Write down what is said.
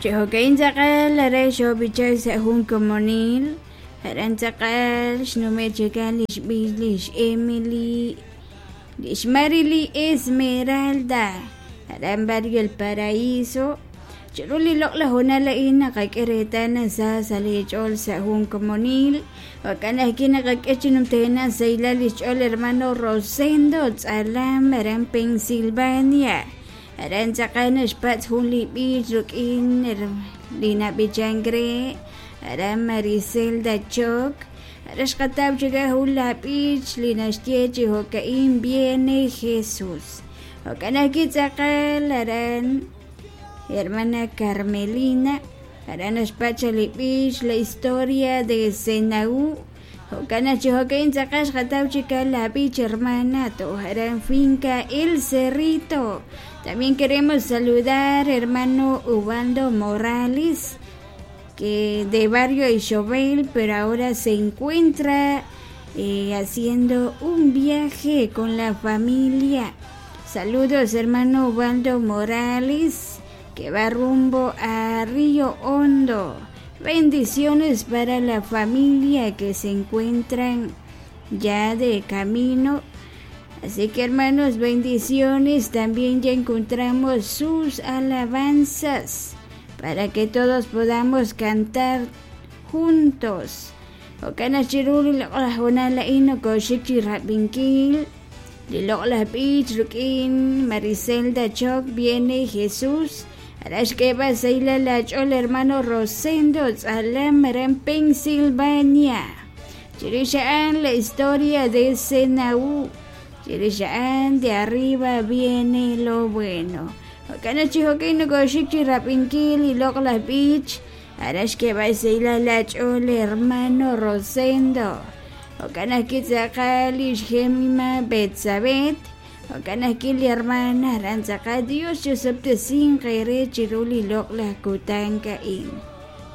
Chi jo'ka'in tz'aqal aran xoob'ichan sa' jun komonil, aran tz'aqal xnume' chikan li xb'ich lix Emily, lix Marily Esmeralda, aran barrio El Paraíso. Chiru li loq'laj hoonal a'in naqak'e reetal naq sa sa' li ch'ool sa' jun komonil, jo'kan ajwi' naqak'e chi numtajenaq sahilal li xch'ool hermano Rosendo Tz'alam aran Pensilvania. Aran tz'aqal naxpatz' jun li b'ich rik'in li nab'ichank re aran Maricelda Choc. Aran xqataw chik jun la b'ich li naxye chi jo'ka'in Viene Jesús. Jo'kan ajwi' tz'aqal aran hermana Carmelina, aran naxpatz' li b'ich la historia de Senaú. Jo'kan chi jo'ka'in tz'aqal xqataw chik la b'ich hermana toj aran finca El Cerrito. También queremos saludar hermano Ubaldo Morales, que de barrio Ixobel, pero ahora se encuentra haciendo un viaje con la familia. Saludos hermano Ubaldo Morales, que va rumbo a Río Hondo. Bendiciones para la familia que se encuentran ya de camino. Así que hermanos, bendiciones. También ya encontramos sus alabanzas para que todos podamos cantar juntos. Jo'kan chiru li loq'laj hoonal a'in nokoxik chi rab'inkil li loq'laj b'ich rik'in Maricelda Choc viene Jesús. Aran xk'eeb'al sahilal la ch'ool hermano Rosendo Tz'alam aran Pensilvania. Chirix a'an la historia de Senaú. Chirix a'an de arriba viene lo bueno. Jo'kan chi jo'kan nokoxik chi rab'inkil li loq'laj b'ich. Aran xk'eeb'al sahilal la ch'ool hermano Rosendo. Jo'kan ajwi' tz'aqal lix Gemima Betsabet. Jo'kan ajwi' li hermana aran tz'aqal Dios chosob'tesinq eere chiru li loq'laj kutan a'in.